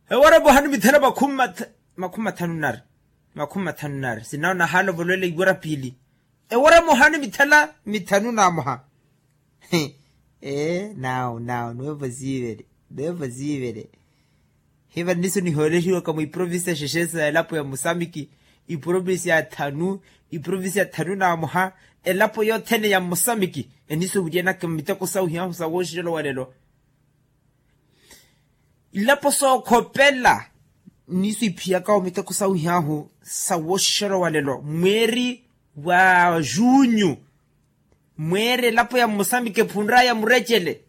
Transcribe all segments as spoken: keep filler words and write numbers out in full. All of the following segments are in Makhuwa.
Ewara emoha ni mithela makhumi mathanu nari. Makhumi mathanu nari sinawo nahaala ovolwela iwara piili. Ewara emoha ni mithela mithanu na moha. Ee nawo nawo nwevo siivele. Nwevo siivele. Hiva nniso nihooleliwaka mwiprovinsi ya xexesa elapo ya musamiki. Iprovinsi ya thanu. Iprovinsi ya thanu na moha. Elapo yothene ya musamiki. Eniso wiliyanaka mmiteko sauhiyahu sa wooxixelo wa lelo. Ilapo sookhopela. Nniso iphiyaka omiteko sauhiyahu sa wooxixelo wa lelo mweeri wa junyu. Mweeri elapo ya mmusamiki ephunraya murecele.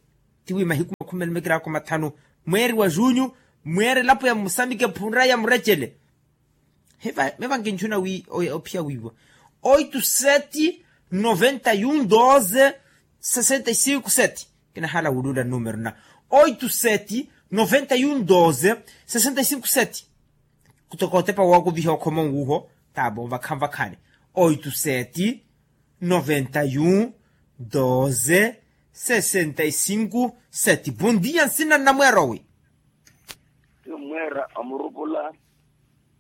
Tiwi mahiku makhumi meli mekirako mathanu. Mweeri wa junyu. Mweeri elapo ya mmusamiki ephunraya murecele. Meva nkinchuna wi ophiya wiiwa. Oito sete noventa e um doze sessenta e cinco sete. Kinahala wulula numero na. Oito sete noventa e um doze sessenta e cinco sete. Kutoka otepa wookuviha okhoma nwuuho. Taabo vakhanvakhani. Oito sete noventa e um doze sessenta e cinco sete. Bondia nsina nnamweera owi? Ti mweera omurupula.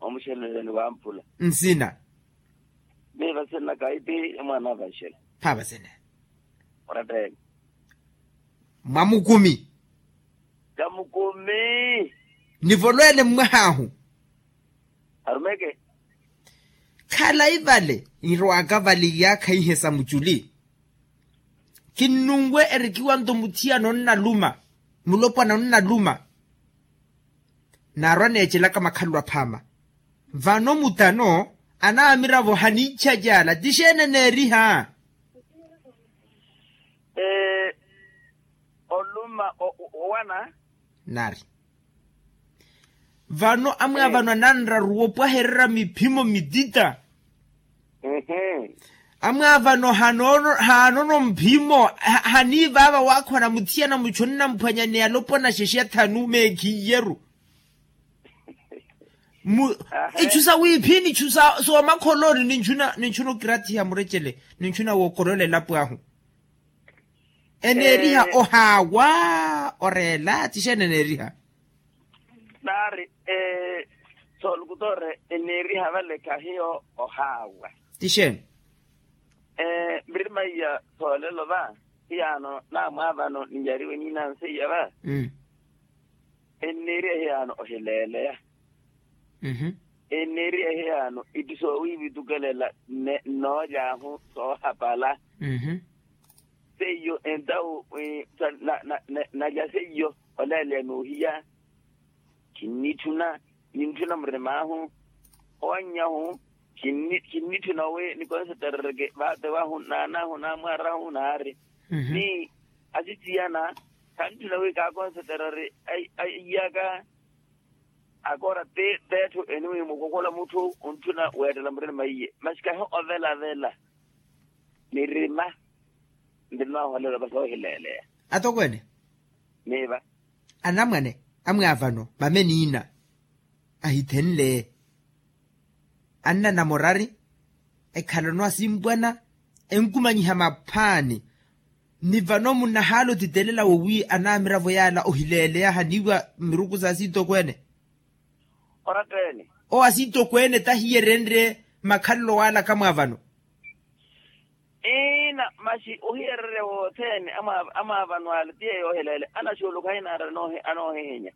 Omuxeneleni wampula. Nsina. Miva sinna kaiti emwana avanxela. Phaava sene. Oratteni. Mwa mukumi. Ka mukumi. Nivolwele mmwahaahu. Arumeke. Khalayi vale nirwaka vale iyaakha ihe sa muculi. Kinnunwe erikiwanto muthiyana onnaluma. Mulopwana onnaluma. Naarwa neecelaka makhalelo aphaama. Vano mutano anaamiravo haniicha caala ti xeene neeriha? Oluma owana. Nari. Vano amwaavano ananraruwa opwahererya miphimo mitita. Amwaavano haanono mphimo. Haniivaava waakhwana muthiyana muchoni namphwanya ni alopwana xexe athanu meekhiyeru. Ichu sawiiphini ichu soomakholoni ninchuna okirathiha murecele. Ninchuna wookolola elapo ahu. Eneeriha ohaawa oreela ti xeene eneeriha? Naari soolukutoore eneeriha vale khahiyo ohaawa. Ti xeene? Mirimaiya soolelo va hiyaano naamwaavano niyariwe niinanseiya va. Enneeriya hiyaano ohileeleya. Enneeriya hiyaano itti soowiivitukelela nnooly'ahu soohapala. Seiyo entawo nalya seiyo oleeleya noohiya. Khinnitthuna nintthuna murim'ahu. Owanny'ahu khinnitthuna wi nikonseterereke vaate wahu naan'ahu naamwaar'ahu naari. Ni asitiyana khantthuna wi kaakonseterere. Aiyaka akoora ti t'etthu eniwiimukokola mutthu ontthuna weettela murimaiye masi kahi ovelavela. Nirima nti nwaholela va soohileeleya. Atokweene. Niiva. Anamwane amwaavano mame niina ahithenle. Anna namorari ekhalano asimpwana enkumanyiha maphaani. Ni vano munahaala otitelela wowi anaamiravo yaala ohileeleya haniiwa mmiruku sa asiitokweene. Oratteni. Owo asiitokweene tahiyerenrye makhalelo waala kamwaavano. Iina masi ohiyererya wothene amwaavano ale ti yeeyo oheleele anaxuulu khahinarya anoohihenya.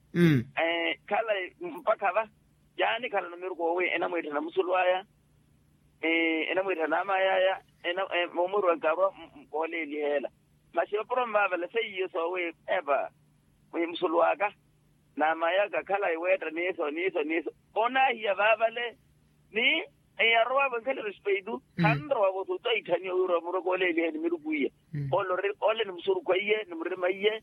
Khalayi mpakha va yaanikhalano miruku owi enamwiitthana musulu aya. Enamwiitthana amayaya. Moomwiruwa nkarwa kooleeliheela. Masi opuro mvaavale seiyo soowi epa musulu aka. Namayaka khalayi weetta niiso niiso niiso onaahiya vaavale. Ni eyarowa avo enkhalelo espeitu khanrowa vo suutu aitthaniwa wiirowa muroko oleeliheni miruku iya. Ole ni musurukhu aiye ni murima aiye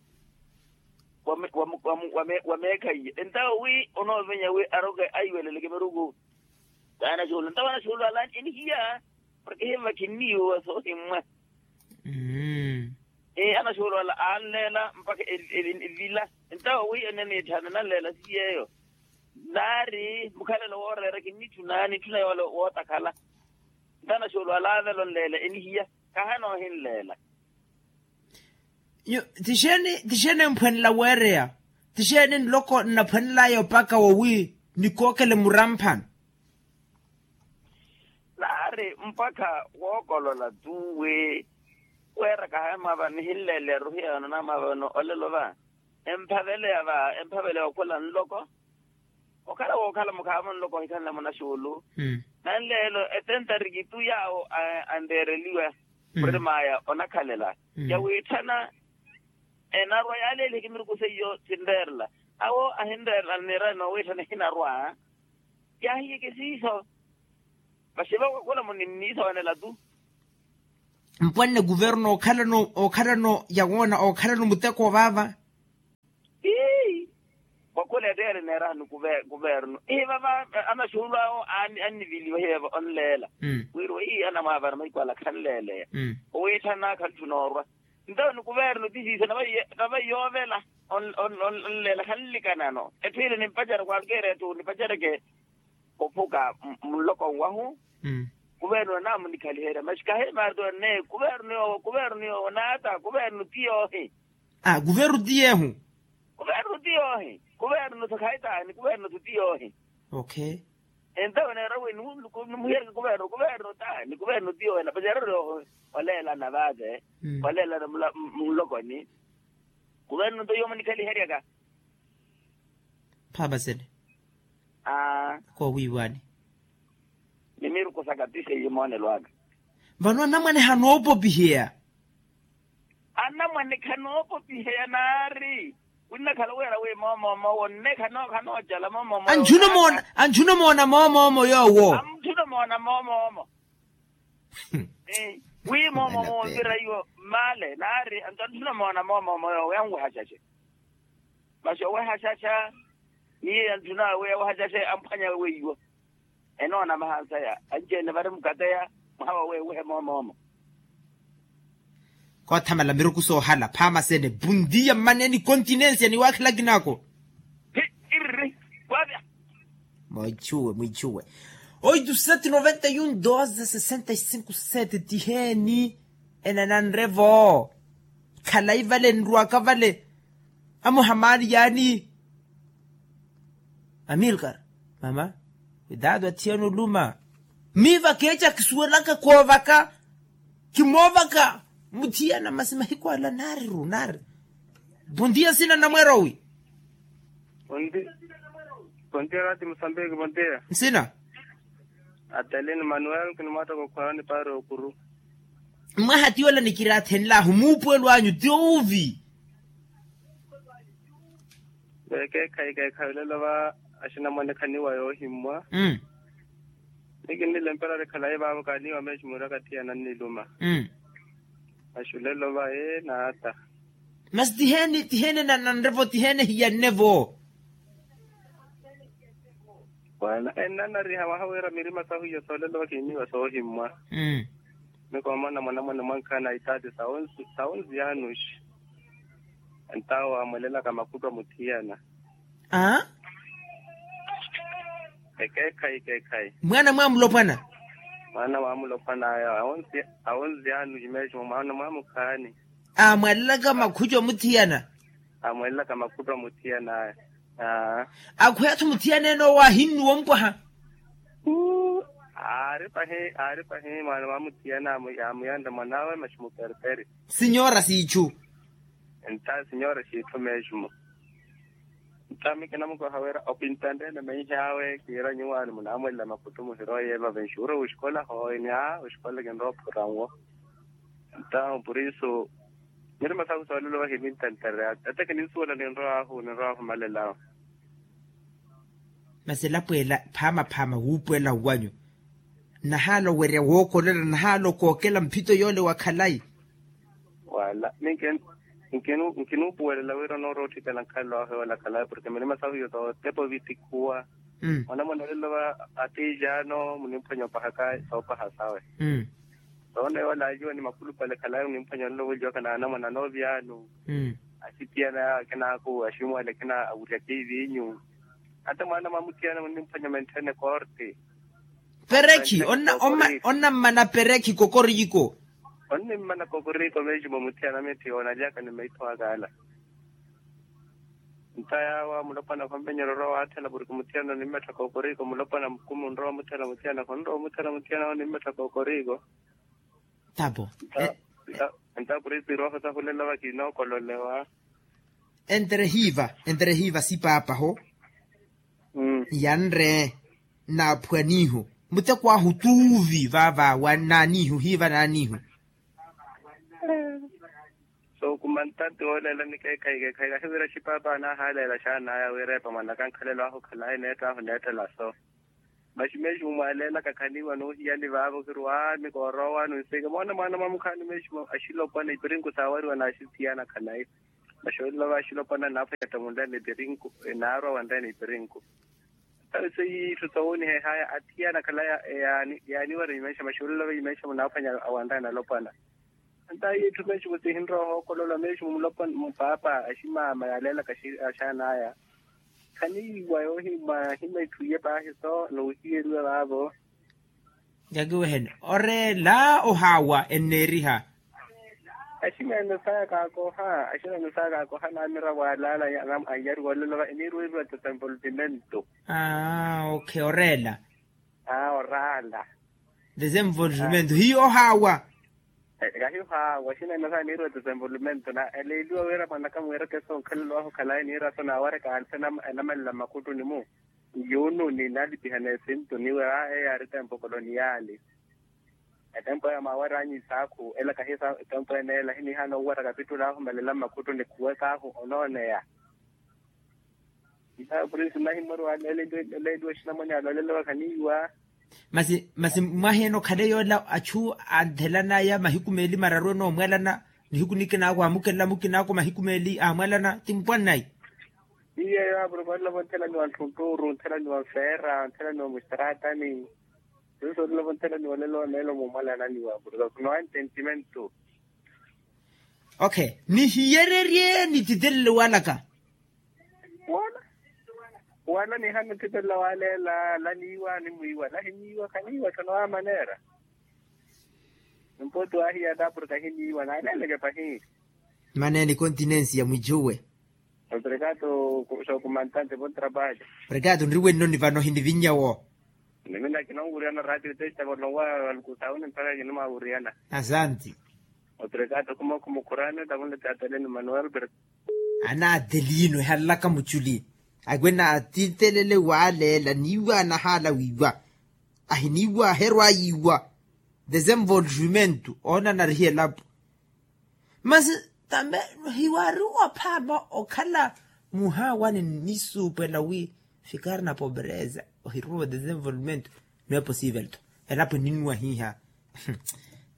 wa meekha aiye entawo wi onoovenya wi aroke aiweleleke miruku. Taana xuulu entawo ana xuulu alaani enihiya. Porke hiva khinniiwa soohimmwa. Ana xuulu ala aanleela mpakha evila entawo wi ene niitthana nanleela siyeeyo. Naari mukhalelo wooreera kinnitthuna nitthuna yoole wootakhala. Nta naxuulu alaavela onleela enihiya. Kahanoohinleela. Nyu tixeeni tixeeni emphwanela weereya? Ti xeeni nloko nnaphwanelaya opaka wowi nikookele muramphano? Naari mpakha wookolola tu wi weeraka hayi mwaavano nihinleeleya ruhiya yoono namwaavano olelo va. Emphaveleya va emphaveleya okhula nloko. Okhala wookhala mukhaavo nloko ohikhanela munaxuulu. Nanleelo etentari kitu yaawo anreereliwa murimaya onakhalela yawiitthana. Enarwa yaaleelihe kimiruku seiyo sinreerela awo ahinreerela niira noowiitthana ehinarwa. Yaahiyeke siiso. Vaxiva wakhula munimmiisa wanela tu. Mpwanne kuverno okhalano okhalano yawoona okhalano muteko vaava. Ii. Wakhula eteere neeraha ni kuverno ihi vava anaxuulu awo anniviliwa hiya onleela. Wiiriwa ii anamwaavana mahiku ala khanleeleya. Owiitthana khantthu noorwa. Nto ni kuverno ti siiso nava yoovela onleela khanlikanano etthu ile nimpacereke walukeera etthu nipacereke. Ophuka muloko nwahu. Kuverno naamunikhaliherya maxi kahimaari ti onne kuverno yoowo kuverno yoowo naata kuverno ti yoohi. Kuverno ti yeehu. Kuverno ti yoohi. Kuverno so khaitaani kuverno so ti yoohi. Okay. Entawe neera wi nimuhiyereke kuverno kuverno taani kuverno ti yoohi napacereryo. Oleelana vaate oleelana mulokoni. Kuverno nto yoomunikhaliheryaka. Phaapasene. Aa. Koowiiwaani. Ni miruku saka ti seiye moonelo aka. Vano anamwane hanoopopiheya. Anamwane khanoopopiheya naari. Winnakhala wira wi moomoomo wonne khanoocala moomoomo. Anjuna moona anjuna moona moomoomo yoowo. Anjuna moona moomoomo. Wi moomoomo wonvira iwo mmaale naari antu anjuna moona moomoomo yoowo yanwehaxaxe. Masi owehaxaxa. Ni yeeyo anjuna awe yawehaxaxe amphwanya weiwo. Enoona mahansaya anci-ene vari mukateya mwaha wawewehe moomoomo. Koothamala miruku soohala phaama sene bundiya mmaneni continencia ni waakhilaki naako. Hi irri. Kwavya. Mwiichuwe mwiichuwe. Oito sete noventa e um doze sessenta e cinco sete tiheeni. Enananre-vo. Khalayi vale nrwaka vale. Amuhamaani yaani. Amilkar. Mama. Widado athiyana oluma. Miiva keeca kisuwelaka koovaka. Kimoovaka. Muthiyana masi mahiku ala naariru naari. Bondia nsina namweera owi. Bondia. Bondia rati musambiki bondia. Nsina. Atalini manuel kinimwattaka okhwayani paari okuru. Mwaha ti ola nikiraathenlahu muupuwelo anyu ti owuuvi. Vekeekhayi keekhayi olelo va. Axinamwane khaniwa yoohimmwa. Ni kinnilempela ori khalayi vaavo kaaniwa meeximuuraka thiyana nniluma. Axulelo va ee naata. Masi tiheene tiheene nananre-vo tiheene hiyanne-vo. Wana ennanariha mwaha wira mirima sahu iyo soolelo va kiiniwa soohimmwa. Ni koomana mwanamwane mwankhaana itaati sa onzi anuxi. Entawo waamwelelaka makhuttu a muthiyana. Aa. Ekeekhayi ekeekhayi. Mwaana mwaamulopwana. Mwaana mwaamulopwana aya awonzi anuxi meeximo mwaana mwaamukhaani. Aamwalelaka makhuttu a muthiyana. Aamwalelaka makhuttu a muthiyana aya. Akhweya-tho muthiyana ene owo ahinnuwa ompwaha. Aari pahi aari pahi mwaana mwamuthiyana yaamuyantta mwan'awe maxi muperperi. Sinyora siichu. Nta sinyora xiitthu meeximo. Nta mi kinamukoha wira opintanteene meihi awe kiira nyuwaani munaamwelela makhuttu muhirooye vave nxuuro wixikola hooyi ni aa wixikola kinrowa ophura nwo. Nta purisu. Mirima sahu soolelo vahi mintantere ate kininsuwela ninrowaahu ninrowaahu malelawe. Masi elapo ela phaama phaama wuupuwela wanyu. Nahaala owerya wookolela nahaala okookela mphito yoole wa khalayi. Wala mi nkinuupuwelela wira onoorowa otthikela nkhalelo ahu yoola khalayi porke mirima sahu iyo sootepa ovitikhuwa. Mwanamwane olelo va atiijaano munimphwanya opahaka soopaha sawe. Soona yoola ayiwa ni makhulupale khalayi munimphwanya olelo wooliwaka naanamwane anoovyano. Axitiyana yawe akinaaku aximuwale akina awuryaka iviinyu. Ata mwaana mwamuthiyana munimphwanya mentthene korte. Perekhi onnammana perekhi kokoriyiko. Onnimmana kokoriyiko meeximo muthiyana mitthi yoonalyaka ni maitho aka ala. Nta yaawa mulopwana khompenyerya orwa waathela porke muthiyana onimmettha kokoriko mulopwana mukumi onrowa omuthela muthiyana khonrowa omuthela muthiyana onimmettha kokoriko. Tapo. Nta purisi irwaho sahulela vakinokololewa. Entere hiiva entere hiiva sipaapa ho. Yanre naaphwanihu muteko ahu tuuvi vaava wa naanihu hiiva naanihu. So kumantanti wooleela nikeekhayi keekhayi kahiwira xipaapa anaahaaleela xaanaya wira epa mwanaka nkhalelo ahu khalayi neettaahu neettela so. Maxi meximu mwaaleelaka khaniiwa noohiyani vaavo khiru aani koorowa waani onsiike moona mwaana mwamukhaani meximu axilopwana ipirinku saawariwa n'axithiyana khalayi. Maxi olelo va axilopwana naaphwanya etta munlena ipirinku naarwa wanlena ipirinku. Seiyo itthu soowoniha ehaya athiyana khalayi yaaniwari imeximu maxi olelo va imeximu naaphwanya awanlena alopwana. Anta itthu meximu sihinrowa ohookolola meximu mulopwana mupaapa aximaama yaaleelaka axaanaya. Khaniiwa yoohimwa himwa itthu iye paahi so noohiyeriwa vaavo. Nkakiweheni oreela ohaawa enneeriha. Aximeenyo saya kaakoha aximeenyo saya kaakoha naamira waalaala anyariwa olelo va eniirwiiriwa desenvolvimento. Aa okay oreela. Aa oraala. Desenvolvimento hiyo ohaawa. Kahiyo haawa aximeenyo saya niiriwa desenvolvimento na eleeliwa wira mwanaka mwiireke so nkhalelo ahu khalayi niira so naawareka anthu enamanela mmakuttuni-mu. Yuununi nalipihana esintu niwe aa eyo yaari tempo koloniyaali. Etempo eyo maawaryanyu isaakhu ela kahi etempo ene ela ahinihaana owarya kapitulu ahu malela mmakhuttuni khuwekaahu onooneya. Ntha purisi nahimwari waleeliwa exinamwane yalolelowa khaniiwa. Masi masi mwahiyeene okhale yoola achu anthelanaya mahiku meeli mararu enoomwelana nihiku nikinaako amukelela mukinaako mahiku meeli aamwelana ti mpwannayi. Iyeyo apuruka olilavo nthelaniwa nttunttuuru nthelaniwa nfeera nthelaniwa mustraatani. Soosi olilavo nthelaniwa olelo neelo muumwalananiwa apuruka kunowa ntentimentu. Okay nihiyererye nititelele walaka. Wala wala nihana nititelele waleela laniiwa nimwiiwa lahiniiwa khaniiwa tthona wa maneera. Mputu ahiya tapuruka ahiniiwa naaleeleke pahi. Maneeni continensi ya mwijuwe. Obrigado. Sookumantante bon trabalho. Obrigado nriwennoni vano hinivinnya wo. Nimina kinonwuriyana ratio testa volowa alkusawuni mpakha kinimawuriyana. Asanti. Obrigado khumokhu mukhurani takunle tataleni manuel. Anaateliino ehalelaka muchuli akwe naatitelele waaleela niiwa anahaala wiiwa. Ahiniiwa aherwa yiiwa. Desenvolvimento oona anariha elapo. Masi tambe hiwari waphaama okhala muhaawani nisuupwela wi fikari na pobreza ohiruwa desenvolvimento. No eposivelto elapo eninnuwa hiiha.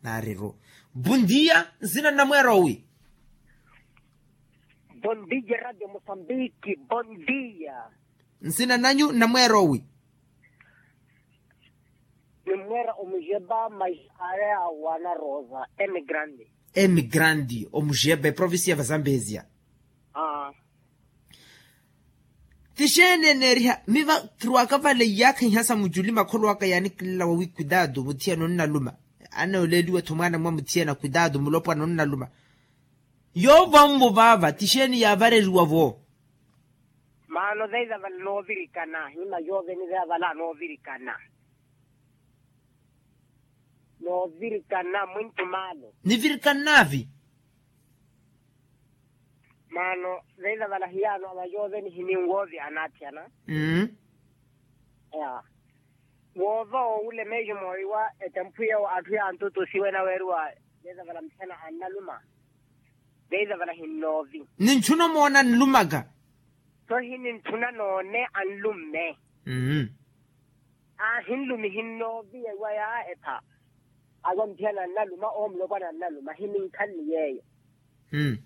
Naariru. Bondia nsina nnamweera owi? Bondia radio mosambiki bondia. Nsina nanyu nnamweera owi? Nimmweera omujeba maisa ale awana rosa emigrandi. Emigrandi omujeba eprovincia va zambezia. Ti xeeni eneeriha miva kirwaka vale iyaakha iha sa muculi makholo aka yaanikilela wa wi kwitaatu muthiyana onnaluma. Anooleeliwa-tho mwaana mwa muthiyana kwitaatu mulopwana onnaluma. Yoovonvo vaava ti xeeni yaavareriwa-vo? Maano zeiza vala noovirikana hima yooveni zeiza vala noovirikana. Noovirikana mwintu maano. Nivirikannaavi? Maano zeiza vala hiyaano ava yooveni hininwoovi anaathiyana. Mmm. Woova oowule meejo mooiwa etempu yeewo atthu ya antutu siwena weeriwa. Zeiza vala muthiyana annaluma. Zeiza vala hinnoovi. Nintthuna omoona anlumaka. So hinintthuna noone anlumme. Mmm. Ahinlumi hinnooviya iwa ya epha. Awo mphiyana nnaluma owo mulopwana nnaluma hininkhanni yeeyo. Mmm.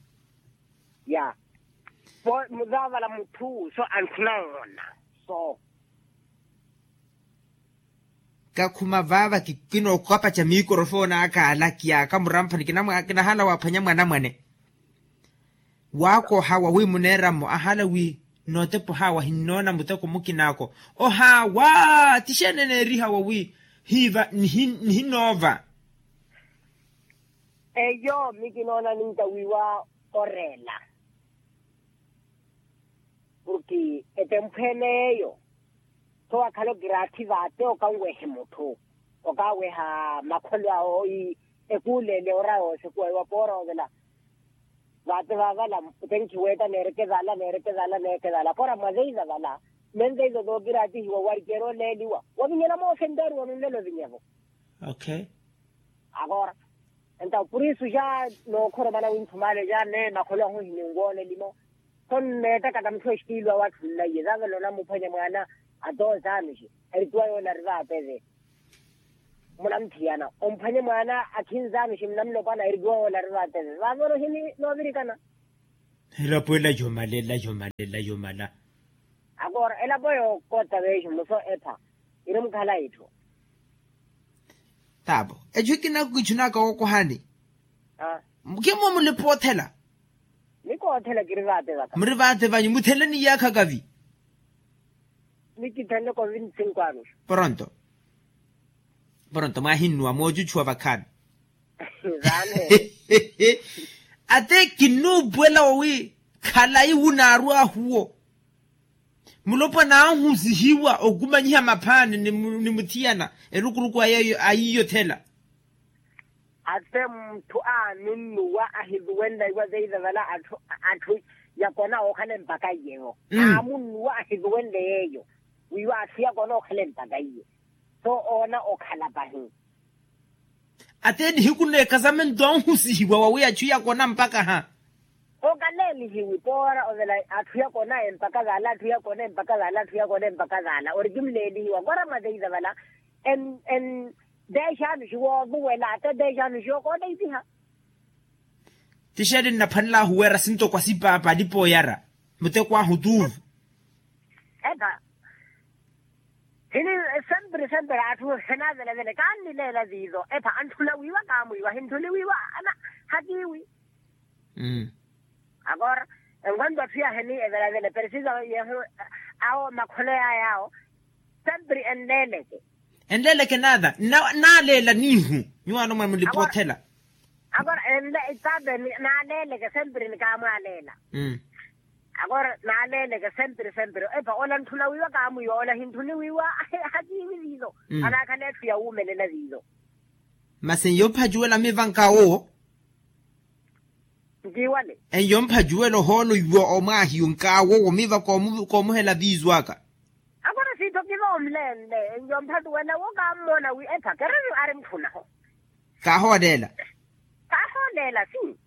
Ya. Vaavala mutthu so antthuna woona. So. Kakhuma vaava kinookwapaca miikorofoni aka ala kiyaaka muramphani kinahala waaphwanya mwanamwane. Waakoohawa wi muneera-mo ahala wi nootepa ohaawa hinnoona muteko mukinaako. Ohaawa ti xeeni eneerihawa wi hiiva nihinnoova? Eyo mikinoona ninta wiiwa oreela. Porki etempweene yeeyo, tho wakhala okiraathi vaate okanwehe mutthu, okanweha makholo awo ekuulele ora yoosekiwa iwa poora ovela. Vaate vaavala otenkhiweeta neereke vaala neereke vaala neereke vaala poora mwaveiza vala. Menveiza tookiraatihiwa warikera oleeliwa wavinyela moosenteeriwa nunlelo vinyavo. Okay. Akoora. Entaw purisu ja nookhoromana winthumaale ja ne makholo ahu hininwoolelimo. Tho nneetakata mutthu estiilu awatthunnaiye vavela onamuphwanya mwaana. Atoozaanuxi erituwa yoola ari vaapeve. Munamthiyana omphwanye mwaana akhinzaanuxi munamulopwana erituwa yoola ari vaapeve vaavoro hini. Noovirikana. Elapo ela yomala ela yomala ela yomala. Akoora elapo yookotta vexi muso epha. Iri mukhala itthu. Tapo echu ekinaku kichunaka wookohani. Kimuwo mulipoothela. Nikoothela kiri vaate vaka muri vaate vanyu muthelani iyaakha kavi. Nikithenle kovinsinkwanu. Poronto. Poronto mwahinnuwa moochuchuwa vakhani. Vane. Ate kinnuupuwela owi khalayi wunaarwaahuwo. Mulopwana anhusihiwa okumanyiha maphaani ni muthiyana erukuruku a yeeyo ayiiyothela. Ate mutthu aanunnuwa ahiluwenla iwa veiva vala atthu atthu yakona okhala empaka iyeyo. Aamunnuwa ahiluwenle yeeyo wiiwa atthu yakona okhala empaka iye. So oona okhala pahi. Ate nihiku neekasamentu anhusihiwa wawi atthu yakona mpaka ha. Okaleelihiwi poora ovela atthu yakona empaka vaala atthu yakona empaka vaala atthu yakona empaka vaala ori kimuleelihiwa kora mwaveiza vala. Eni eni. Dexanuxi woovuwela ate dexanuxi yookoolaipiha. Tixeeni nnaphwanelaahu wira sintoko asipaapa alipa oyara muteko ahu tuuvu. Epha. Hini sempiri sempiri atthu henaavelavele kaannileela viizo epha antthuna wiiwa kaamwiiwa hintthuni wiiwa. Ana hakiiwi. Akoora. Enkhwanto atthu yaaheni evelavele persiza yeehu awo makholo yaaya awo. Sempiri enleeleke. Enleeleke naatha. Naaleela niihu nyuwaano mwa mulipoothela. Akoora enle itaapeni. Naaleeleke sempiri nikaamwaaleela. Akoora naaleeleke sempiri sempiri epha ola ntthuna wiiwa kaamwiiwa ola hinthuni wiiwa. Hakiiwi viizo. Anaakhala etthu yawuumelela viizo. Masi enyoophacuwela miva nkaawo. Nkiiwale. Enyo mphacuwela ohoolo iwo omwaahiyo nkaawo womiva koomuhela viizu aka. Akora siitho kiva omuleenle enyo mphacuwela wo kaammona wi epha kereri ari mutthuna ho. Kaahooleela. Kaahooleela si.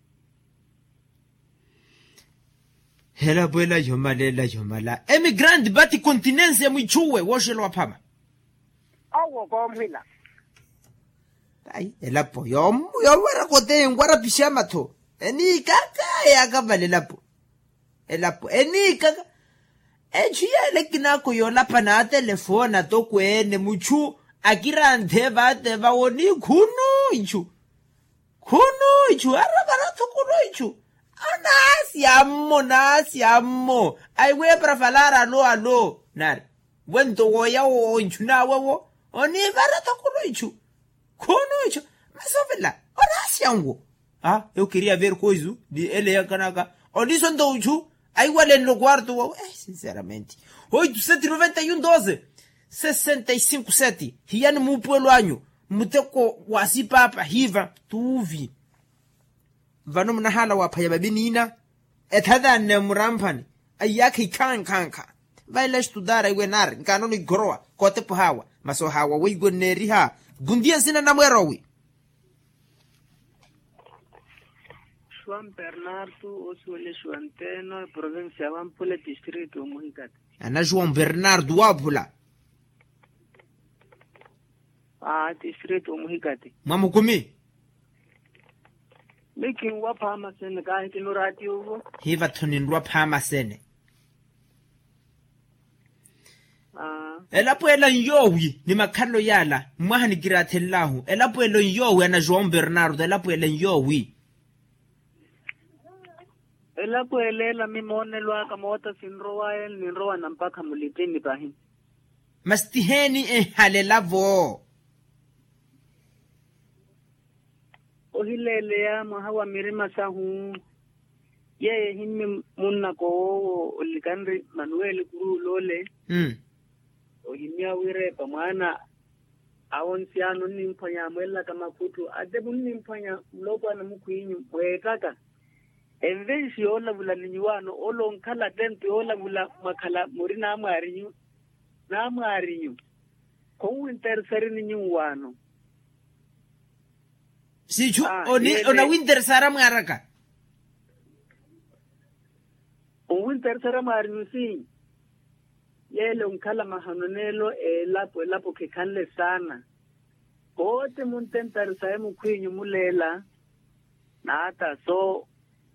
Elapo ela yomala ela yomala emigrant bati continence ya mwichuwe wooxela waphama. Owo koomuhila. Ai elapo yoomu yoomu warakote enwarapixa matho. Eniikaka yaakavala elapo. Elapo eniikaka. Echu yeele kinaako yoolapana atelefoona atokweene muchu akiranthe vaate vawo ni khunu ichu. Khunu ichu ara varathukulu ichu. Anaasya mmo naasya mmo. Aiweepara falaara alo alo nari. Wento woya wo onchunaawe wo onivara thokulu ichu. Khunu ichu. Masovela onaasya nwo. Eyo keriya ver koisu ni ele yankanaka. Onisonto ichu. Aiwalenle okwarto wawe sinceramente. Oitu seti noventa y un doze sesenta y cinco seti hiyani muupuwelo anyu. Muteko wa sipaapa hiiva tuuvi. Vano munahaala waaphaya vavinina. Ethathani ne muramphani. Aiyaakha ikhankhankha. Vaila estudara iwe nari nkaanono ikhorowa kootepo haawa. Masi ohaawa weiwe nneeriha. Bundiya nsina namweero wi. Juan bernardo osiwelixiwa nteno eprovincia ya wampula distrito omuhikati. Ana juan bernardo waaphula. Aa distrito omuhikati. Mwamukumi. Mikinwa phamasene kaahikina oraatiyo uwo. Hiivatho ninrwa phamasene. Elapo ela nyoowi ni makhalelo yaala mmwaha nikiraathenlahu elapo elo nyoowi ana joão bernardo elapo ela nyoowi. Elapo ela ela mimoonelo aka moota sinrowaya ninrowana mpakha mulitini pahi. Masi tiheeni enhalelavo. Ohileeleya mwaha wa mirima sahu. Yeeyo ehimmi munnaka owoowo olikanri manuweli kuruula ole. Ohimmiwa wiireepa mwaana awo nsiyano onnimphwanya amweelelaka makhuttu ate munnimphwanya mulopwana mukhwinyu mweettaka. Envenxi yoolavula ni nyuwaano ole onkhala attempu yoolavula mwakhala muri naamwaarinyu. Naamwaarinyu khonwinteresari ni nyuwaano. Sichu onawinteresara mwaaraka. Onwinteresara mwaaraka si yeele onkhala mahano neelo elapo elapo khekhanle saana. Poote muntentarisa emukhwinyu muleela. Naata so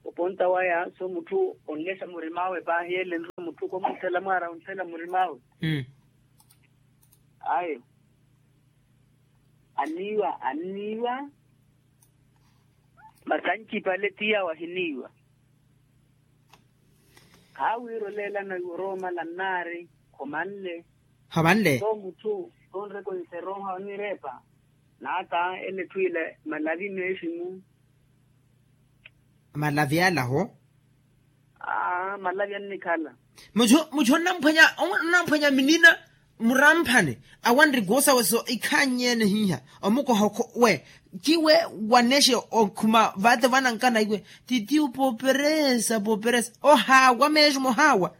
oponta waya so mutthu onlexa murimawe paahi yeele nrwa mutthu komunthela mwaara onthela murimawe. Ayo anniiwa anniiwa. Masi ancipale tiyawe ahiniiwa. Khaawiira oleelana iwe oroomala nnaari khomanle. Khomanle so mutthu onrekonse erooha onireepa. Naata ele etthu ile malavi meeximu. Malavi ala ho. Aa malavi annikhala. Mutthu mutthu onnamphwanya onnamphwanya minina muramphani awanri koosawe so ikhannyene hiiha omukoha okho we. Kiwe wanexe okhuma vaate vanankana iwe titiwu pooperesa pooperesa ohaawa meeximu ohaawa.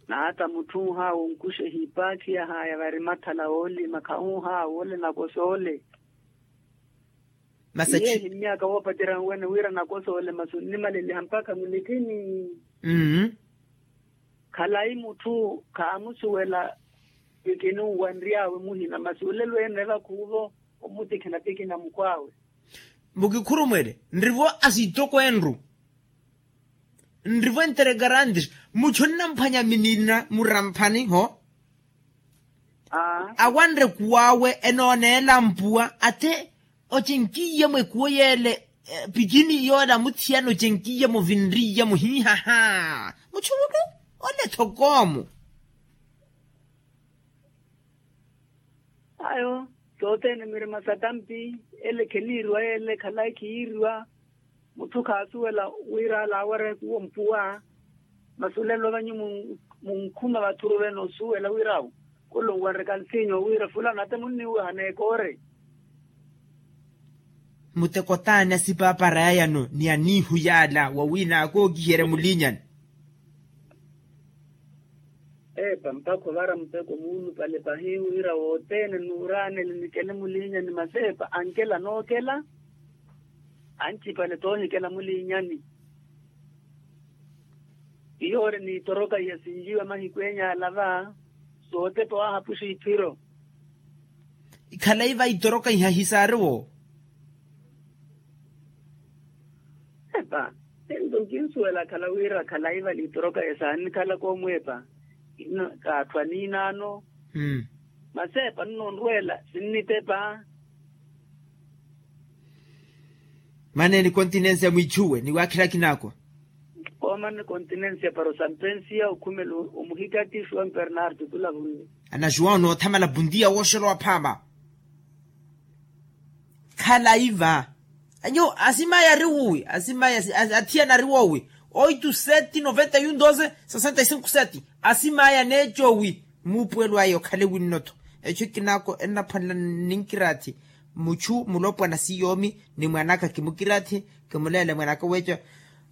Naata mutthu onhaawa onkuxa ehipaakhi yahaya vari mathala oolima khanhaawa ole nakosa ole. Masi iye ehimmyaka woopacerya nwene wira nakosa ole masi onnimaleliha mpakha mulikhini. Khalayi mutthu khaamusuwela pikini onwanry'awe muhina masi olelo ene vakhuuvo omutikhina pikina mukhw'awe. Mukikhurumwele nrivo asitoko enru. Nrivo enterekarantix mutthu onnamphwanya minina muramphani ho. Awanre kuw'awe enooneela mpuwa ate ocenkiiyemo ekuwo yeele. Pikini yoola amuthiyana ocenkiiyemo ovinriiyemo hiihaha mutthu mulu. Ole thokoomu. Ayo sothene mirima sa tampi ele kheniiriwa ele khalayi khiiriwa. Mutthu khaasuwela wira ala awarekuwo mpuwa. Masi olelo vanyu munkhuma vathuru vene osuwela wira awo khula onwareka nsiinyo wira fulano ate munniwehana ekoore. Muteko taani asipaapara yayano ni aniihu yaala wawiina akookiherya muliinyani. Epa mpakha ovara muteko muulupale pahi wira wothene nuuraanele nikele muliinyani masi epa ankela nookela. Ancipale toohikela muliinyani. Iyoori niitoroka iha sinjiwa mahiku enya alava sootepa waahapuxa iphiro. Khalayi va itoroka iha hisaariwo. Epa ento nkinsuwela khala wira khalayi vale itoroka esaani khala koomwepa. Kaatthu aniinaano. Masi epa nnonrweela sinnitepa. Mane ni continencia mwiichuwe ni waakhira kinaako. Koomane continencia para osampensiya okhumela omuhikati xuan bernardo tulavunne. Ana xuan onoothamala puntiya wooxolowa phaama. Khalayi va anyu asimaya ari woowi asimaya athiyana ari woowi. Oitu seti noventa y un doze sesenta y cinco seti. Asimaya neecowi muupuwelo aya okhale winno-tho. Echo kinaako ennaphwanela ninkiraathi. Muchu mulopwana siyoomi ni mwan'aka kimukiraathi. Kimuleele mwan'aka weeca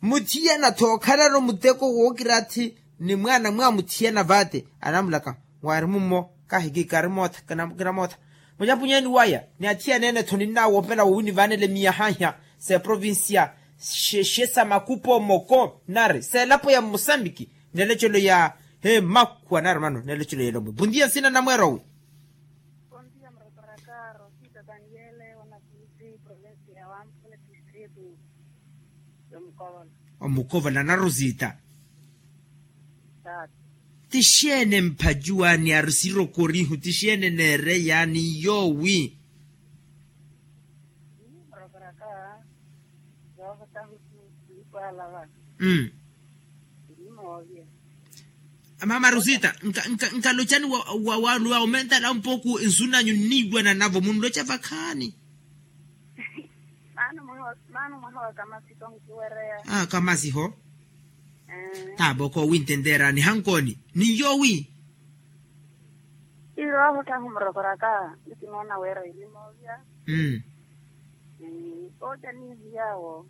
muthiyana-tho okhalano muteko wookiraathi. Ni mwaana mwaamuthiyana vaate anamulaka waari mummo. Kahi kikaari mootha kinamootha. Mucapunyeeni waya ni athiyana ene-tho ninnawoopela wowinivaanela miyaha iha seprovincia. Xexe sa makupo moko nari seelapo ya mosambiki. Nelecelo ya he makhuwa nari mano nelecelo ya elomwe puntiya nsina namweero wi. Pontiya muraparaka rosita taniele wa nakusi provincia ya wampula distritu yomukovola. Omukovola na rosita. Ti xeene mphacuwaani arusi rokorihu ti xeene neereyaani yoowi. Muraparaka. Zoovota husu. Ipaala va. Mama rosita nkalocani wa waluwa omentala mpooku nsu nanyu nniiwana navo munloca vakhaani. Maana mwiiwa. Maana mwaha wa kamasiho nkiwereya. Ah, kamasiho. Taavoko wintenteera nihankooni ninyo wi. Irooho thahu murokoraka. Ntikimeena wira iri moovya. Kooca niihiyawo.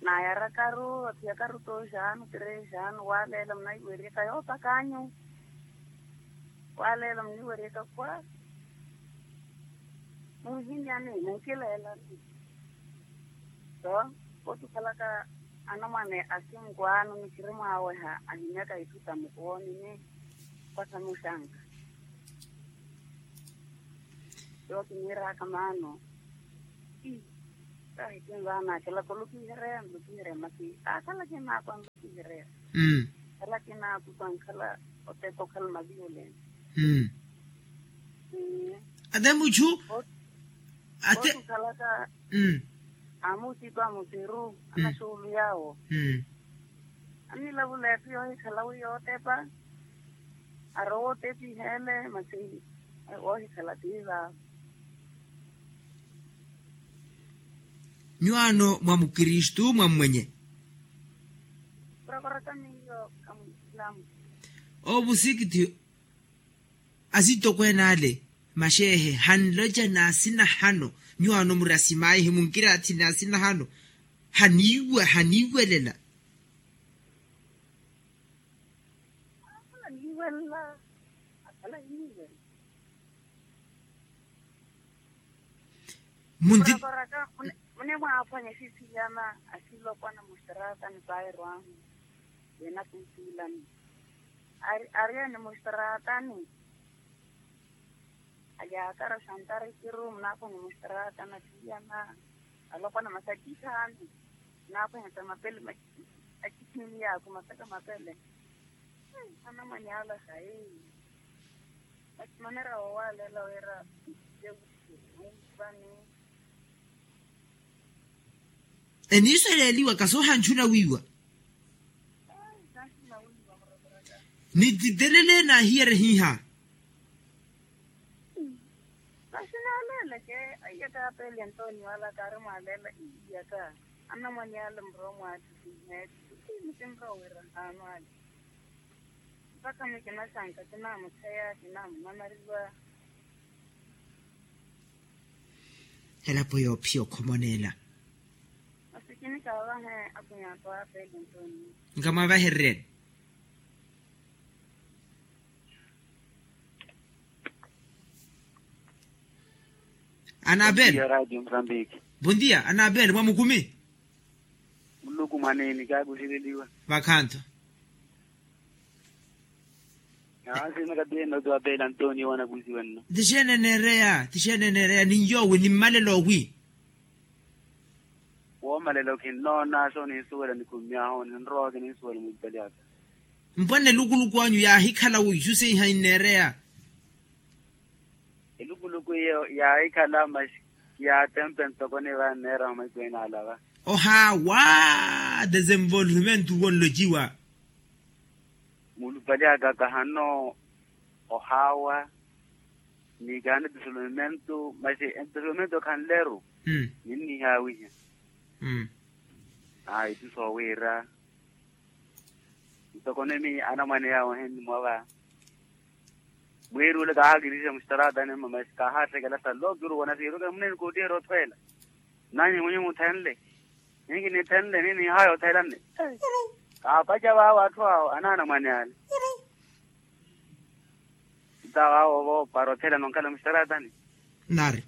Naayarakaru aphiyakaru tooxaanu trexaanu waaleela munaiweryaka yoopakaanyu. Waaleela muniweryaka kwa. Munhimyani munkileelani. So kootukhalaka anamwane asinkwaanu ni khiri mwaaweha ahimyaka itthu tamukoonini. Kwasamuxanka yookiniraka maano. Ii. Kahikinvaana akilaka olukihireya nlukihireya masi akhalakina akwa nlukihireya. Khalakina akukwankhala otepa okhala maviyuleni. Ate muchu ate. Amusipa musiru anaxuulu yaawo. Anilavula etthu yoohikhala wi yootepa. Arowa otepiha ele masi woohikhala tiiva. Nyuwaano mwa mukristu mwa mmwenye. Kurakoraka miyo ka muislamu. Ovusikiti asitokweene ale maxeehe hanloca naasina hano. Nyuwaano murasimayi himunkiraathi naasina hano. Haniiwa haniiwelela. Akhala niiwelela. Akhala niiwelela. Munti. Murakoraka. Mune mwaaphwanya esisiyana asilopwana muxtaraatani pairwahu. Yena kumpiilani. Ari ari eni muxtaraatani. Ayaakara xantarikiru munaaphwanya muxtaraatani asiyana. Alopwana masi akithaani. Munaaphwanya sa mapele. Akithiini yaaku masaka mapele. Anamwanyala hayi. Masi manera woowalela wira. Vani. Eniisweleeliwa kasohanchuna wiiwa. Nititelele naahiyere hiiha. Masi naaleeleke aiyaka apele ntoni wala kaari mwaaleela iyaka. Anamwani ale muro mwaatisihe. Mutimuro wira haanu ale. Mpakha mukina sanka kinaamutheya kinaamunamariwa. Elapo yoophiya okhomoneela. Masi kinikavahe akhunyato apeele ntoni. Nkamwavaherereni. Anabel. Bondia anabel mwamukumi. Muluku mwanene kaakuxeleliwa. Vakhanto. Aasina katiye noti wa pele antonio wanakuziwa nno. Tixeene neereya tixeene neereya ninyo wi nimmalelo wi. Woomalela okhinnoona sooninsuwela nikhummyaho ninrowa kininsuwela mwiipali aka. Mpwanne elukuluku anyu yaahikhala wi isu seiha inneereya. Elukuluku iyo yaahikhala masi kiyaatempe ntoko niva nneera mamaiko ene alava. Ohaawa desenvolvimento wonlociwa. Mulupali aka kahano ohaawa. Ni kahano desenvolvimento masi desenvolvimento khanleru. Ninnihaawiha. Ayi ti soowiira. Ntoko nimi anamwane yawo henni mwava. Mwiiruule kaahakirisiha muxitaratani mma masi kaahaattrekela sa lookiruwa na siiruke muneni koottiherya othweela. Nanyi mwinyi muthenle. Ninki nithenle ni niihaya otheela nne. Kaapaca vaawo atthu awo anaanamwane ale. Nta vaawo voopara otheela nonkhala muxitaratani. Nari.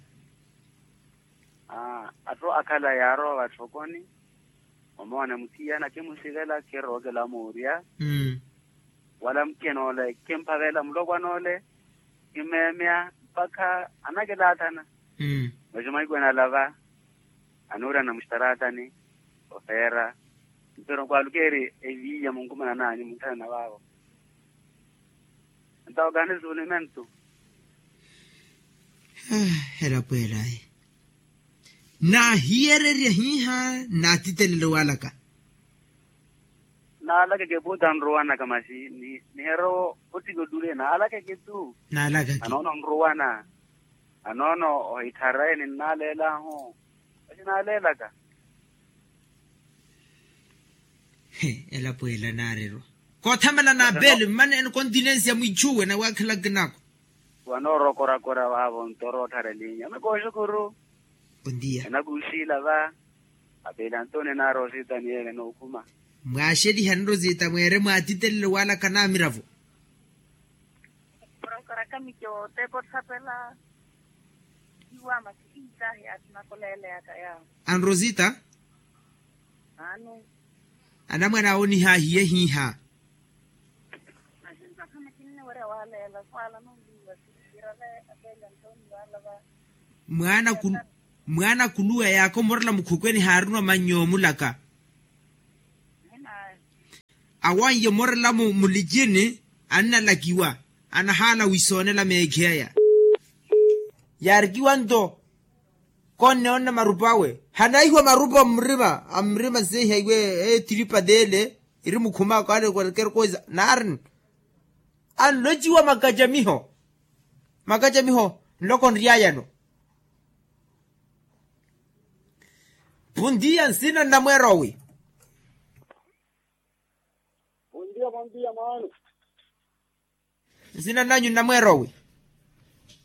Atthu akhala yaarowa vatthokoni. Omoona muthiyana kimuxivela khirookela moorya. Wala mukina ole khimphavela mulopwana ole. Khimeemeya mpakha anakilaathana. Masi mahiku ene alava anuurana muxitaratani ofeera. Mpero kwaalukeeri eviiya munkumana naani munthanana vaavo. Entawo kaani suulimento. Elapo elayi. Naahiyererya hiiha naatitelele waalaka. Naalaka ekeputa nruwanaka masi niherewo ottika ottule naalaka eketu. Naalaka anoono nruwana. Anoono ohittharaye ninnaaleelaahu. Naalelaka. Elapo ela naarerwa koothamala na abele mmane eno kontinensi ya mwichuwe na wakhela kinako. Wanoorokorakora vaavo ntoro otthara elinya mikooxukuru. Ontiya enakuuxiila va. Apele antoni na rosita ni ele nookhuma. Mwaaxeliha ni rosita mweere mwaatitelele waalaka namiravo. Prokaraka mico tepo thapela. Iwa masi iitahi atinakoleeleyaka yawo. Anrosita. Ano. Anamwane awo nihaahiye hiiha. Asintakhana kinniwerya waleela swala nonviwa sirale apele antoni wala va. Mwaana kuluwa yaaka omorela mukhukweni haarina omannya omulaka. Awan'ya omorela mulicini annalakiwa. Anahaala wisoonela meekhi aya. Yaarikiwa nto. Konne onna marupa awe hanaihiwa marupa a murima a murima nsehiha iwe. Etiripa teele iri mukhuma kale kwalekere koisa naarini. Anlociwa makacamiho. Makacamiho nloko nryayano. Puntiya nsina nnamweerowi. Puntiya puntiya mwaanu. Nsina nnanyu nnamweerowi.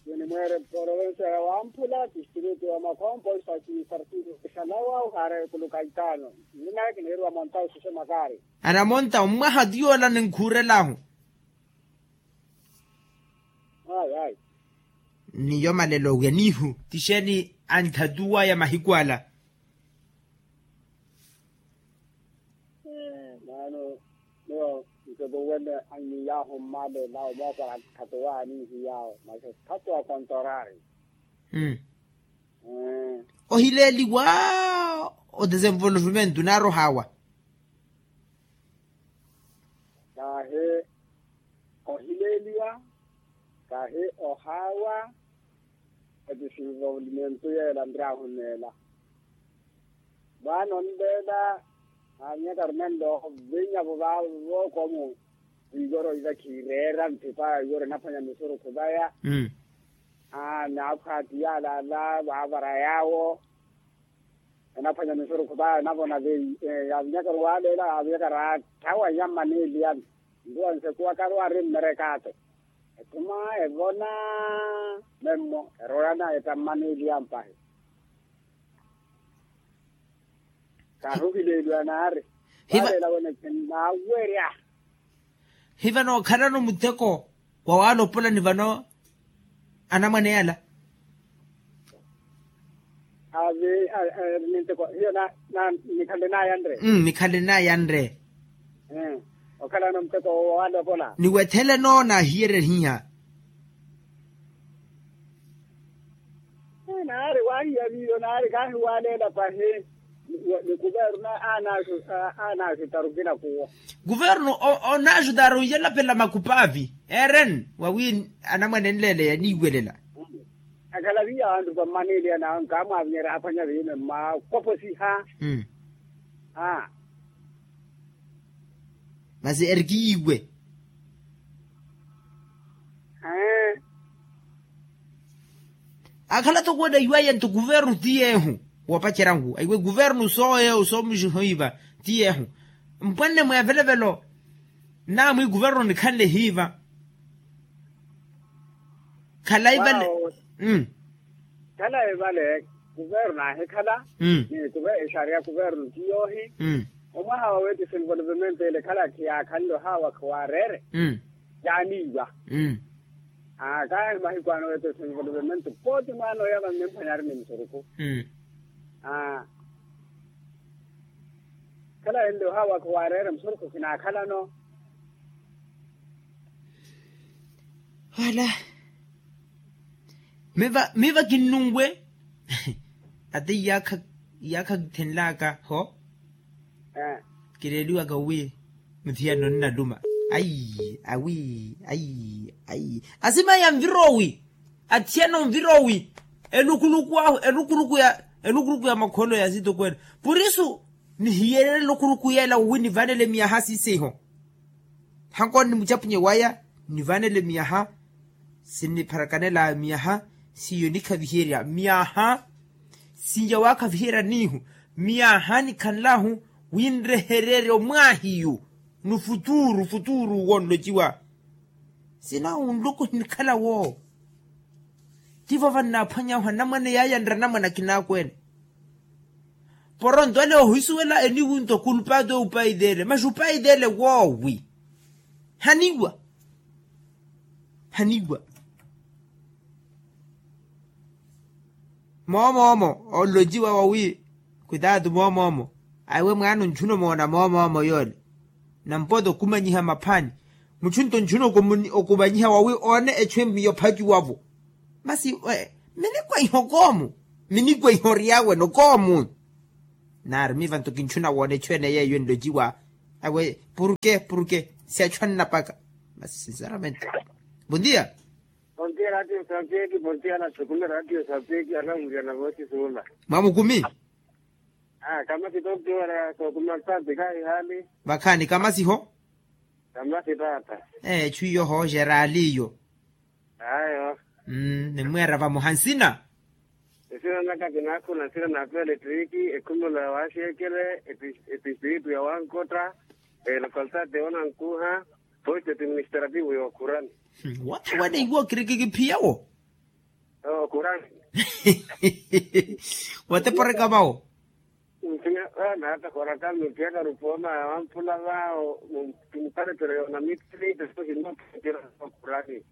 Sinimweere provensia ya wamphula distrito ya makhompo isaki sartini. Xalawa uhaare kuluka itaano. Nnina kiniiriwa monta usuxe makari. Anamonta mmwaha ti yoola ninkhuurelahu. Ayi ayi. Ni yo malelo wenihu ti xeeni anthatuwaya mahiku ala. Maano miyo ntuku wene anniyahu mmale nawo moopara nthatuwaya niihiyawo masi nthatuwa kontorari. Ohileeliwa odesenvolvimentu naarohawa. Kaahi ohileeliwa kaahi ohaawa. Eti sinvolvimentu yeela nryahu neela. Mwaana onleela. Aanyaka rumenle ovinya-vo vaavo koomu. Iyoro ila khiireera nthipa iyoro enaphwanya misurukhu vaya. Naakhwa ati yaalaala vaavara yaawo. Enaphwanya misurukhu vaya enavona vei. Yaavinyaka ruwaaleela yaavinyaka raatthawa ya mmaneeliyani. Ntuwa nsekuwaka ruwari mmerekaato. Ethuma evona memmo erorana etta mmaneeliya mpahi. Kaahi ohileeliwa naari. Vaaleela wene kinaawerya. Hiva nookhalano mutheko wa waalopola ni vano anamwane yala. Ave ave eri ninteko hiyo na na. Nikhale nayanre. Nikhale nayanre. Okhalano muteko woowaalopola. Niwetheleno naahiyererihiha. Naari waahiya viiyo naari kaahi waaleela pahi. Ni kuveernu. Aanaaxutaru kinakuwo. Kuveernu onaaxutaru yalapela makupaavi. Eren wawi anamwane nleeleya niiwelela. Akhala viiya wantthu vammaneeliya nawe nkaamwaavinyerya aphwanya viime mmaakoposiha. Masi eri kiyiiwe. Akhala toko ena iwaye nto kuvernu ti yeehu. Woopacerya nku aiwe kuvernu sooye osoomuxihoiva ti yeehu. Mpwanne mweevelovelo. Naamwi kuvernu nikhanle hiiva. Khalayi vale. Khalayi vale. Kuvernu aahikhala. Ni kuvernu exariya kuvernu ti yoohi. Omwaha wa weeti sinvolvimento ele khalayi khiyaakhanle ohaawa khiwaareere. Yaaniiwa. Aa kaahi mahiku ano weeti sinvolvimento pooti mwaana oya vannimphwanya ari ni musurukhu. Khalayi enle ohaawa khiwaareere musurukhu khinaakhalano. Wala. Miva miva kinnunwe. Ate iyaakha iyaakha kithenlaka ho. Kileeliwaka wi muthiyano nnaluma. Ayi awi ayi ayi. Asima ya nvirowi. Athiyana onvira owi. Elukuluku ahu elukuluku ya elukuluku ya makholo ya sitokwela. Purisu nihiyerele elukuluku yela owi nivanele miyaha sisiho. Hankoni mucapunye waya nivanele miyaha. Siniparakanela miyaha. Siyo nikhaviherya miyaha. Sinja waakhaviherya niihu miyaahani khanlahu, winrehererya omwaahiyu. Nufuturu futuru wonlociwa. Sina unluku hinkhala wo. Tivo vannaaphwanyahu anamwane yaayanra anamwane akhinaakweene. Poronto ale ohisuwela eniwunto kulpato upaitele masi upaitele woowi. Haniwa. Haniwa. Moomoomo onlociwa wawi. Kutaatu moomoomo. Aiwe mwaana ontchuna omoona moomoomo yoole. Nampoto okumanyiha maphani. Mutthu nto ntthuna okumanyiha wawi oone echu emmiyo phacuwavo. Masi minikwehiha okoomu. Minikwehiha oriyawene okoomu. Nari miiva nto kintthuna woona echu ene yeeyo enlociwa. Awe purke purke. Siachu annapaka. Masi sinceramente. Bondia. Bondia ratio sapeki bondia nathukume ratio sapeki anawirya na voosisuula. Mwamukumi. Kamasi tokiwara sookuma mpampi kahihaali. Vakhaani kamasi ho. Kamasi taata. Echu iyo hooxera aliyo. Ayo. Nimmweera vamoha nsina. Nsina naka kinaakhuna nsina naapela ettiiki ekhumula ya waaxeekele. Episipiitu ya wankotta. Elokaltaati ya wanankuha. Poitte ti ministarativo ya okhurani. Wate wene iwo kirikikiphiya wo. Okhurani. Wate poreka vawo. Nsinya naata khoraka mipyaka rupooma ya wamphula vawo. Kimparetero yoona mittiri teso hinophekera okhurani.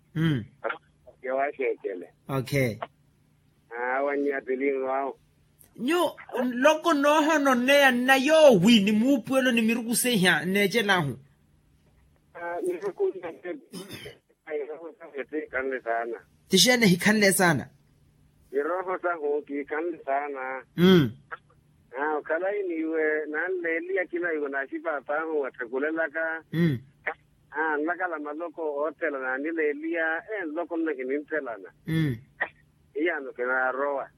Ya waaxeekele. Okay. Awannyateliwe awo. Nyu nloko noohononeya nna yoowi ni muupuwelo ni mirukuseiha neecelahu. Mirukuseiha. Tixeene ehikhanle saana? Mirooho sahu kiikhanle saana. Mmm. Okhalayi n'iwe nanleeliya akina iwe naaxipaap'ahu watthekulelaka. Mmm. Nnakhala maloko oothela naanileeliya. Nloko nna kininthelana. Mmm. Hiyaano kinaarowa.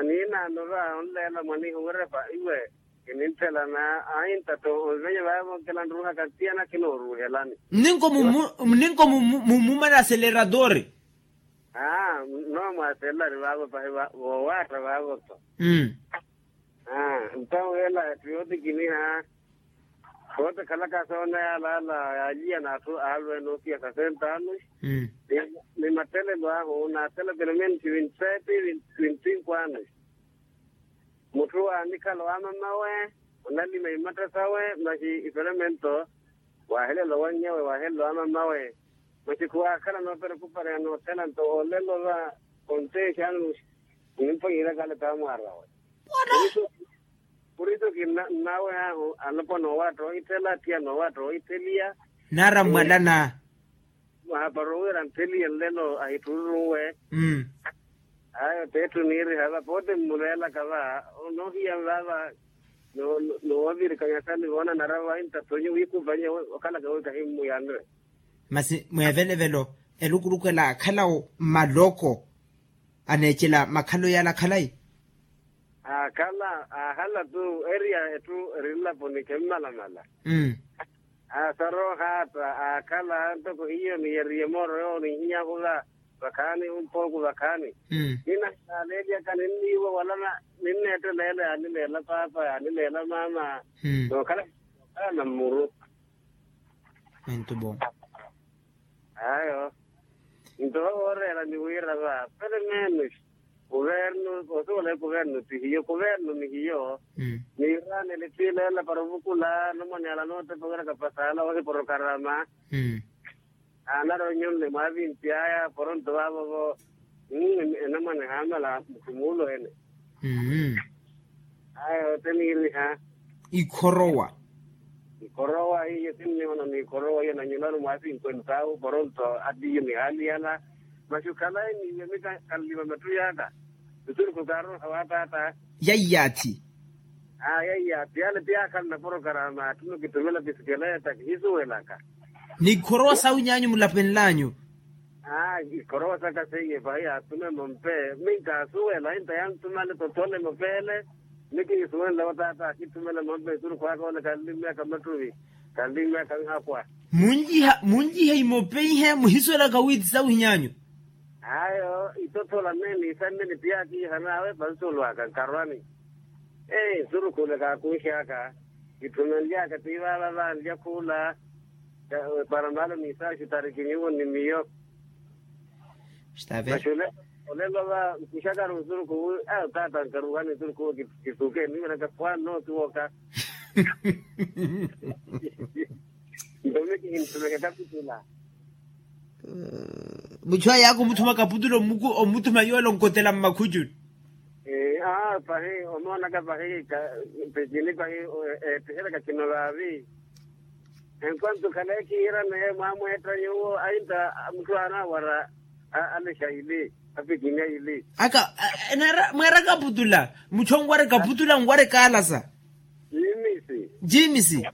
Niinaano va onleela mwanihu wirepa iwe. Kininthelana aintato onvenye vaavo nkela nruuhaka ntiyana kinooruuhelani. Mninko mumumana aseleratori. Aa. Noomwaaselelari vaavo pahi voowaatta vaavo-tho. Aa. Nto weela etthu yootikiniha. Sootekhalaka soona yaalaala yaaliya n'atthu aalweene okiya sasenta anos. Ni mattelelo ahu naattela pelo menthi vinti sete vinti sinku anos. Mutthu aanikhala owaamamawe onalima imatta sawe masi ipelemento. Waahelela owannyawe waahelela owaamamawe. Masi khuwaakhala nooperekupaleya noothela nto olelo va. Konteexi anos nimphwanyihilaka ale taamwaarawe. Puriso kinnaawe ahu alopwa noowatta oohithela athiya noowatta oohitheliya. Naarammwalana. Mwaapara owiira ntheliye nlelo ahitthululuwe. Ayo t'etthu niiriha va pooti mmuleelaka va. Noohiya vaava. Noovirikanya sani voona nara vaintathonyi wiikupanye. Okhalaka wi kahimmuyanre. Masi mweevelevelo elukuluku ela akhalawo mmaloko. Aneecela makhalo yala akhalayi. Aakhala aahala tu eriya etthu erinlaponi khemmalamala. Aasarooha ata aakhala ntoko hiyo niyeriye mooro yoowo ninhiyahu va. Vakhaani ompooku vakhaani. Ninaaleeliyaka ninniiwa wala ninneettela ele yaanileela paapa yaanileela maama. Nookhala. Nammuru. Ayo. Nto vooreera ni wira va pele menos. Kuvernu osuwela ekuvernu ti hiyo kuvernu ni hiyo. Niiraanele ttiileela para ovukula nomwaneala nootepa wira kapasaala ohi porokarama. Aanaronyonle mwaavinti aya poronto vaavo-vo. Enamwane haamala mutthu muulweene. Aya ote niiriha. Ikhorowa. Ikhorowa iyo sinnihono n'ikhorowa iyo nanyulano mwaasinkwent'ahu poronto. Atiyo nihaaliyala. Masi okhalayi n'iwe mika kanlima mattuyaaka. Nsurukhu kaaroha waataata. Yaiyaathi. Aa yaiyaathi yale ti yaakhala na porokarama atthuna okitthumela pisikeleeta kihisuwelaka. N'ikhorowa sawu inyaanyu mulapenl'anyu. Aa ikhorowa saka seiye pahi yaatthuma emompe. Minkaasuwela ainta yantthuma ale tothole emopeele. Mikiisuwenle otaata akitthumela emompe nsurukhu aka ole kanlimmyaka mattuvi. Kanlimmyaka nhapwa. Munjiha munjiha imope ihe muhisuwelaka wiithi sawu inyaanyu. Ayo itothola mme niisanne nipiyaka ihanaawe pansulu aka nkarwani. Ee nsurukhule kaakunxaka. Kitthumenlyaka tiivaava vanlya khuula. Para maalo niisaaxutari kinyuwo ni miyo. Masi olelo va nkuxakaru nsurukuwi. Ayo taata nkaruwani nsurukuwi kisuuke niwiraka fwaani nootuwoka. Nto mi kihinthumeke kapitula. Muchu aya akumuthuma kaputula omuthuma yoola onkotela mmakhucuni. Aa pahi omoonaka pahi. Pikini pahi eepiherya kakhino vaavi. Enquanto khale kiira neye mwamweetta nyuwo ainta mutthu aana awara. Alexa ili apikini aili. Aka mweera kaputula muchu onwara ekaputula onwara ekaalasa. Jimisi. Jimisi.